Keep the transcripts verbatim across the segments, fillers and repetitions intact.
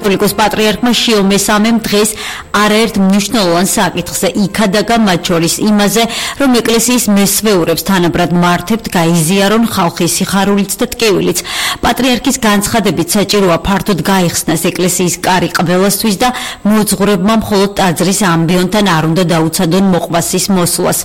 კათოლიკოს პატრიარქმა შიო მესამემ დღეს არაერთ მნიშვნელოვან საკითხზე იქადაგა, მათ შორის იმაზე, რომ ეკლესიის მესვეურებს თანაბრად მართებთ გაიზიარონ ხალხის სიხარულიც და ტკივილიც. პატრიარქის განცხადებით საჭიროა ფართოდ გაიხსნას ეკლესიის კარი ყველასთვის და მოძღვრებმა მხოლოდ ტაძრის ამბიონთან არ უნდა დაუცადონ მოყვასის მოსვლას.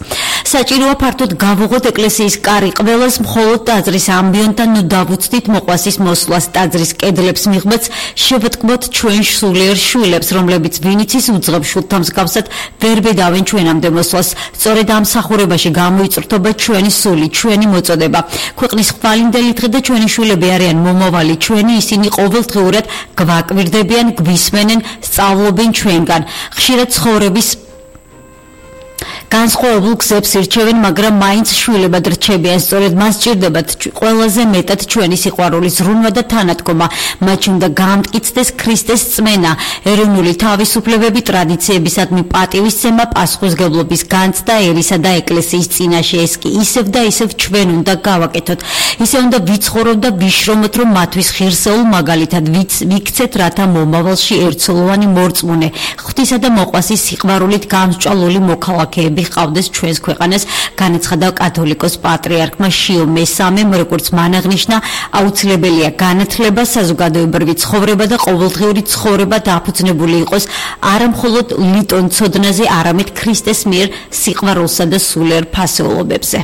საჭიროა ფართოდ გავუღოთ ეკლესიის კარი ყველას, მხოლოდ ტაძრის ამბიონთან დავუცდით მოყვასის მოსვლას. ტაძრის კედლებს მიღმაც შევტკბოთ ჩვენ სულიერ შვილებს, რომლებიც ვინიცის უძღებ შვილთა მსგავსად ვერ ბედავენ ჩვენამდე მოსვლას. სწორედ ამ მსახურებაში გამოიწვრთობა ჩვენი სული, ჩვენი მოწოდება. ქვეყნის ხვალინდელი დღე და ჩვენი შვილები არიან მომავალი ჩვენი, ისინი ყოველდღიურად გვაკვირდებიან, გვისმენენ, სწავლობენ ჩვენგან. ხშირად ცხოვრების განსხვავებულ გზებს ირჩევენ, მაგრამ მაინც შვილებად რჩებიან. სწორედ მას სჭირდებათ ყველაზე მეტად ჩვენი სიყვარული, ზრუნვა და თანადგომა. მათ უნდა გაამტკიცდეს ქრისტეს წმენა, ეროვნული თავისუფლებები, ტრადიციებისადმი პატივისცემა, პასუხისმგებლობის განცდა ერისა და ეკლესიის წინაშე. ეს კი ისევ და ისევ ჩვენ უნდა გავაკეთოთ. ისე უნდა ვიცხოვროთ და ვიშრომოთ, რომ მათთვის ღირსეულ მაგალითად ვიქცეთ, რათა მომავალში ერთსოლოვანი მორწმუნე, ღვთისა და მოყვასის სიყვარულით გამსჭვალული მოქალაქეები ყავდეს ჩვენს ქვეყანას, განაცხადა კათოლიკოს პატრიარქმა შიო მესამემ. როგორც მან აღნიშნა, აუცილებელია განათლება, საზოგადოებრივი ცხოვრება და ყოველდღიური ცხოვრება დაფუძნებული იყოს არა მხოლოდ ლიტონ ცოდნაზე, არამედ ქრისტეს მიერ სიყვარულსა და სულიერ ფასეულობებზე.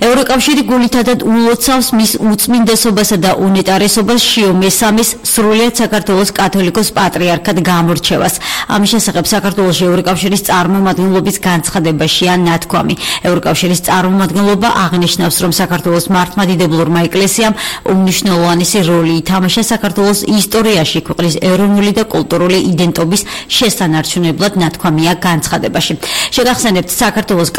ევროკავშირი გულითადად ულოცავს მის უწმინდესობასა და უნეტარესობას შიო მესამის სრულიად საქართველოს კათოლიკოს პატრიარქად გამორჩევას. ამის შესახებ საქართველოს ევროკავშირის წარმომადგენლობის განცხადებაშია ნათქვამი. ევროკავშირის წარმომადგენლობა აღნიშნავს, რომ საქართველოს მართლმადიდებლურმა ეკლესიამ უმნიშვნელოვანესი როლი ითამაშა საქართველოს ისტორიაში ქვეყნის ეროვნული და კულტურული იდენტობის შესანარჩუნებლად, ნათქვამია განცხადებაში. შეგახსენებთ, საქართველოს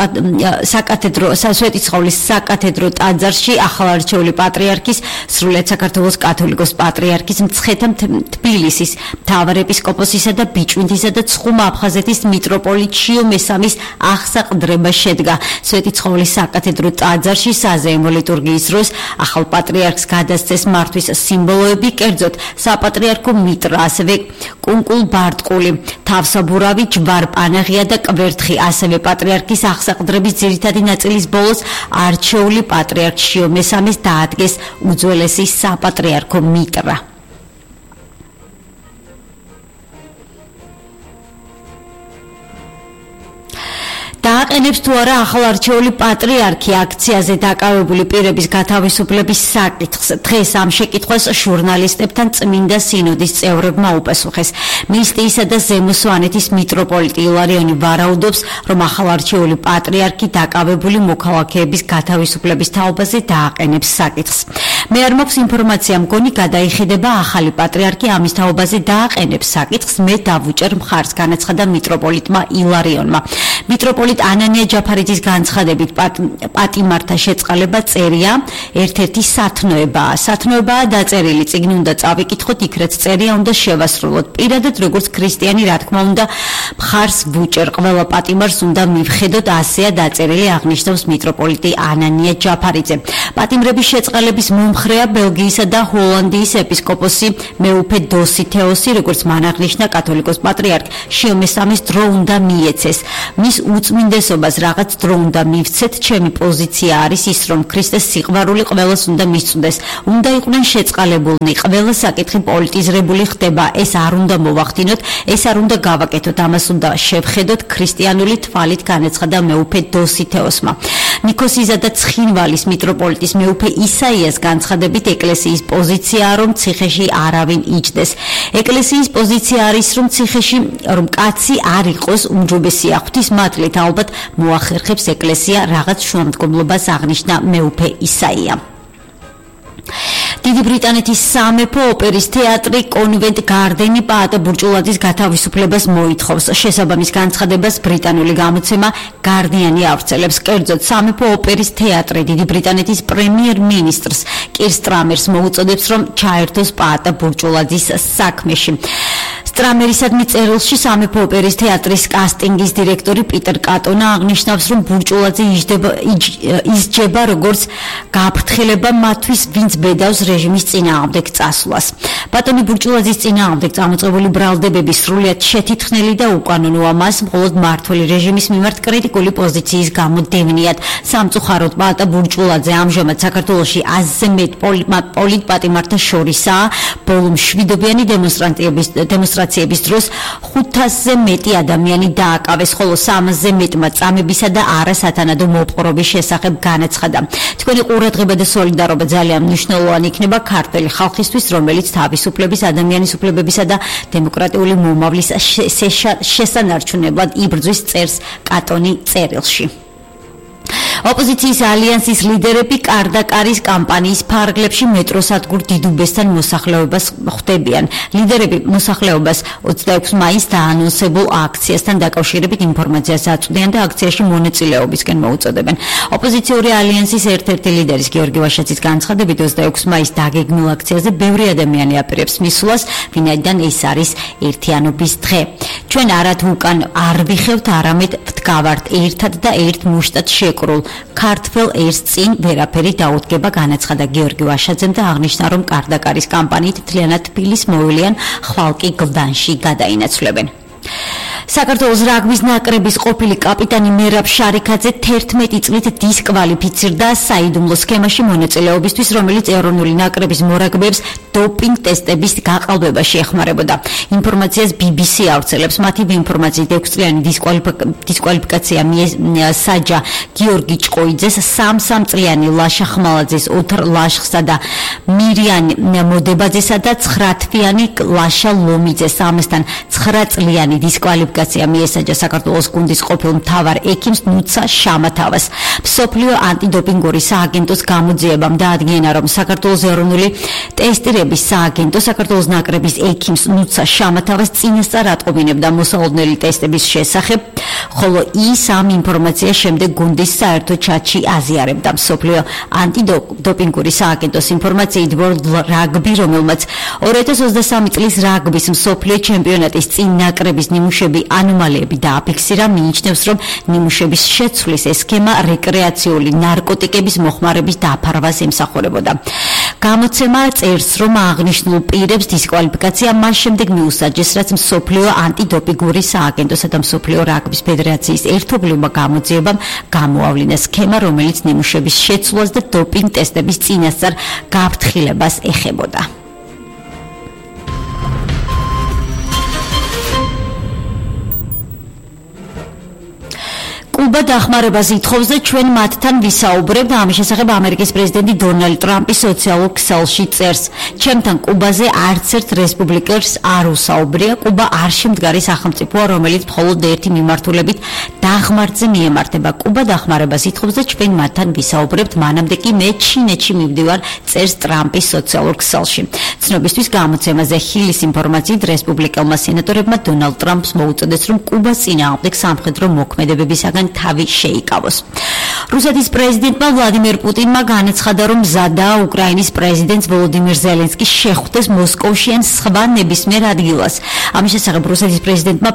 საკათედრო სვეტიცხოვლის საკათედრო ტაძარში ახალარჩეული პატრიარქის, სრულიად საქართველოს კათოლიკოს პატრიარქის, მცხეთა თბილისის მთავარეპისკოპოსისა და ბიჭვინთისა და ცხუმა აფხაზეთის მიტროპოლიტ შიო მესამის აღსაყდრება შედგა. სვეტიცხოვლის საკათედრო ტაძარში საზეიმო ლიტურგიის დროს ახალ პატრიარქს გადასცეს მართვის სიმბოლოები, კერძოდ საპატრიარქო მიტრა, ასევე კუნკულ ბარტყული, თავსაბურავი, ჯვარ-პანაღია და კვერთხი, ასევე პატრიარქის აღსაყდრების ძირითადი ნაწილის ბოლოს არჩეული პატრიარქ შიო მესამის დაადგეს უძველესი საპატრიარქო მიტრა. დააყენებს თუ არა ახალარჩეული პატრიარქი აქციაზე დაკავებული პირების გათავისუფლების საკითხს. დღეს ამ შეკითხვას ჟურნალისტებთან წმინდა სინოდის წევრებმა უპასუხეს. მისტიისა და ზემო სვანეთის მიტროპოლიტი ილარიონი ვარაუდობს, რომ ახალარჩეული პატრიარქი დაკავებული მოქალაქეების გათავისუფლების თაობაზე დააყენებს საკითხს. მე არ მაქვს ინფორმაცია, მგონი გადაიხედება ახალი პატრიარქი ამის თაობაზე დააყენებს საკითხს, მე დავუჭერ მხარს, განაცხადა მიტროპოლიტმა ილარიონმა. მიტროპოლიტ ანანია ჯაფარიძის განცხადებით პატიმართა შეწყალება წერია ერთ-ერთი სათნოებაა. სათნოებაა დაწერილი, წიგნი უნდა წავიკითხოთ, იქ რაც წერია უნდა შევასრულოთ. პირადად როგორც ქრისტიანი, რა თქმა უნდა, მხარს ვუჭერ, ყველა პატიმარს უნდა მივხედოთ, ასეა დაწერილი, აღნიშნავს მიტროპოლიტი ანანია ჯაფარიძე. პატიმრების შეწყალების მომხრეა ბელგიისა და ჰოლანდიის ეპისკოპოსი მეუფე დოსითეოსი, როგორც მან აღნიშნა, კათოლიკოს პატრიარქ შიო მესამის დრო უნდა მიეცეს. მის უწმინდესობას რაღაც დრო უნდა მივცეთ. ჩემი პოზიცია არის ის, რომ ქრისტეს სიყვარული ყველას უნდა მისწვდეს. უნდა იყვნენ შეწყალებულნი, ყველა საკითხი პოლიტიზირებული ხდება. ეს არ უნდა მოვახდინოთ, ეს არ უნდა გავაკეთოთ, ამას უნდა შევხედოთ ქრისტიანული თვალით, განაცხადა მეუფე დოსითეოსმა. ნიქოსისა და ცხინვალის მიტროპოლიტის მეუფე ისაიას განცხადებით, ეკლესიის პოზიციაა, რომ ციხეში არავინ იჯდეს. ეკლესიის პოზიცია არის, რომ ციხეში რომ კაცი არ იყოს უმჯობესია. ღვთის მატლით ალბათ მოახერხებს ეკლესია რაღაც შუამდგომლობას, აღნიშნა მეუფე ისაია. დიდი ბრიტანეთის სამეფო ოპერის თეატრი კონვენტ გარდენი პაატა ბურჭულაძის გათავისუფლებას მოითხოვს. შესაბამის განცხადებას ბრიტანული გამოცემა გარდიანი ავრცელებს. კერძოდ, სამეფო ოპერის თეატრი დიდი ბრიტანეთის პრემიერ-მინისტრს კირ სტრამერს მოუწოდებს, რომ ჩაერთოს პაატა ბურჭულაძის საქმეში. სტრამერისადმი წერილში სამეფო ოპერის თეატრის კასტინგის დირექტორი პიტერ კატონა აღნიშნავს, რომ ბურჭულაძე ისჯება როგორც გაფრთხილება მათთვის, ვინც ბედავს რეჟიმის წინააღმდეგ წასვლას. ბატონი ბურჭულაძის წინააღმდეგ წამოწყებული ბრალდებები სრულიად შეთითხნელი და უკანონოა, მას მხოლოდ მმართველი რეჟიმის მიმართ კრიტიკული პოზიციის გამო დევნიათ. სამწუხაროდ პალატა ბურჭულაძე ამჟამად საქართველოში აზზე მეტ პოლიტპატიმართა შორისაა. ბოლო მშვიდობიანი დემონსტრაციების დემონსტრაციების დროს ხუთასზე მეტი ადამიანი დააკავეს, ხოლო სამასზე მეტმა წამებისა და არასათანადო მოპყრობის შესახებ განაცხადა. თქვენი ყურადღება და სოლიდარობა ძალიან მნიშვნელოვანი იქნება ქართველი ხალხისთვის, რომელიც თავისუფლების, ადამიანის უფლებებისა და დემოკრატიული მომავლის შესანარჩუნებლად იბრძვის, წერს კატონი წერილში. ოპოზიციის ალიანსის ლიდერები კარდაკარის კამპანიის ფარგლებში მეტროსადგურ დიდუბესთან მოსახლეობას ხვდებიან. ლიდერები მოსახლეობას ოცდაექვსი მაისს დაანონსებულ აქციასთან დაკავშირებით ინფორმაციას აწვდიან და აქციაში მონაწილეობისკენ მოუწოდებენ. ოპოზიციური ალიანსის ერთ-ერთი ლიდერის გიორგი ვაშაძის განცხადებით, ოცდაექვსი მაისს დაგეგმილ აქციაზე ბევრი ადამიანი აპირებს მისვლას, ვინაიდან ეს არის ერთიანობის დღე. ჩვენ არათუ უკან არ ვიხევთ, არამედ ვდგავართ ერთად და ერთ მუშტად შეკრულ. ქართველ ერს წინ ვერაფერი დაუდგება, განაცხადა გიორგი ვაშაძემ და აღნიშნა, რომ კარდაკარის კამპანიით მთლიანად თბილის მოვლიან, ხვალ კი გლდანში გადაინაცვლებენ. საქართველოს რაგბის ნაკრების ყოფილი კაპიტანი მერაბ შარიქაძე თერთმეტი წლით დისკვალიფიცირდა საიდუმლო სქემაში მონაწილეობისთვის, რომელიც ეროვნული ნაკრების მორაგბეებს დოპინგ ტესტების გაყალბებაში ეხმარებოდა. ინფორმაციას ბი ბი სი ავრცელებს. მათი ინფორმაციით ექვსწლიანი დისკვალიფიკაცია საჯა გიორგი ჭყოიძეს, სამ-სამწლიანი ლაშა ხმალაძეს, ოთარ ლაშხსა და მირიან მოდებაძესა და ცხრათვიანი ლაშა ლომიძეს, ამასთან ცხრაწლიანი დისკვალიფიკაცია მიესაჯა საქართველოს გუნდის ყოფილ მთავარ ექიმს ნუცა შამათავას. მსოფლიო ანტიდოპინგური სააგენტოს გამოძიებამ დაადგინა, რომ საქართველოს ეროვნული ტესტირების სააგენტო საქართველოს ნაკრების ექიმს ნუცა შამათავას წინასწარ ატყობინებდა მოსალოდნელი ტესტების შესახებ, ხოლო ის ამ ინფორმაციას შემდეგ გუნდის საერთო ჩატში აზიარებდა. მსოფლიო ანტიდოპინგური სააგენტოს ინფორმაციით, World Rugby, რომელმაც ორი ათას ოცდასამი წლის რაგბის მსოფლიო ჩემპიონატის წინ ნაკრების ნიმუშები ანომალიები დააფიქსირა, მიიჩნევს, რომ ნიმუშების შეცვლის ეს სქემა რეკრეაციული ნარკოტიკების მოხმარების დაფარვას ემსახურებოდა. გამოცემა წერს, რომ აღნიშნულ პირებს დისკვალიფიკაცია მას შემდეგ მიუსაჯეს, რაც მსოფლიო ანტიდოპინგური სააგენტოსა და მსოფლიო რაგბის ფედერაციის ერთობლივმა გამოძიებამ გამოავლინა სქემა, რომელიც ნიმუშების შეცვლას და დოპინგ ტესტების წინასწარ გაფრთხილებას ეხებოდა. კუბა დახმარებას ითხოვს და ჩვენ მათთან ვისაუბრებთ. ამის შესახებ ამერიკის პრეზიდენტი დონალდ ტრამპი სოციალურ ქსელში წერს, ჩემთან კუბაზე არც ერთ რესპუბლიკელს არ უსაუბრია. კუბა არ შემდგარი სახელმწიფოა, რომელიც მხოლოდ ერთი მიმართულებით დაღმართზე მიემართება. კუბა დახმარებას ითხოვს და ჩვენ მათთან ვისაუბრებთ, მანამდე კი მე ჩინეთში მივდივარ, წერს ტრამპი სოციალურ ქსელში. ცნობისთვის გამოცემაზე ჰილის ინფორმაციით, რესპუბლიკელმა სენატორებმა დონალდ ტრამპს მოუწოდეს, რომ კუბას წინააღმდეგ სამხედრო მოქმედებებისაგან თავი შეიკავოს. რუსეთის პრეზიდენტმა ვლადიმერ პუტინმა განაცხადა, რომ მზადაა უკრაინის პრეზიდენტს ვოლოდიმირ ზელენსკის შეხვდეს მოსკოვში ან სხვა ნებისმიერ ადგილას. ამის შესახებ რუსეთის პრეზიდენტმა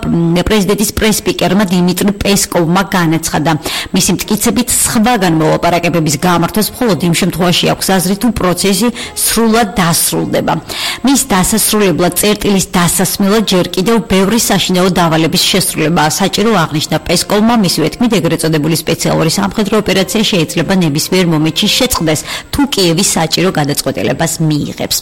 პრეზიდენტის პრესპიკერმა დიმიტრი პესკოვმა განაცხადა, მისი მტკიცებით სხვაგან მოლაპარაკებების გამართვას მხოლოდ იმ შემთხვევაში აქვს აზრი, თუ პროცესი სრულად დასრულდება. მის დასასრულებლად წერტილის დასასმელად ჯერ კიდევ ბევრი საშინაო დავალების შესრულებაა საჭირო, აღნიშნა პესკოვმა. მისივე თქმით, ეგრეთ წოდებული სპეციალური სამხედრო ოპერაცია შეიძლება ნებისმიერ მომენტში შეწყდეს, თუ კიევი საჭირო გადაწყვეტილებას მიიღებს.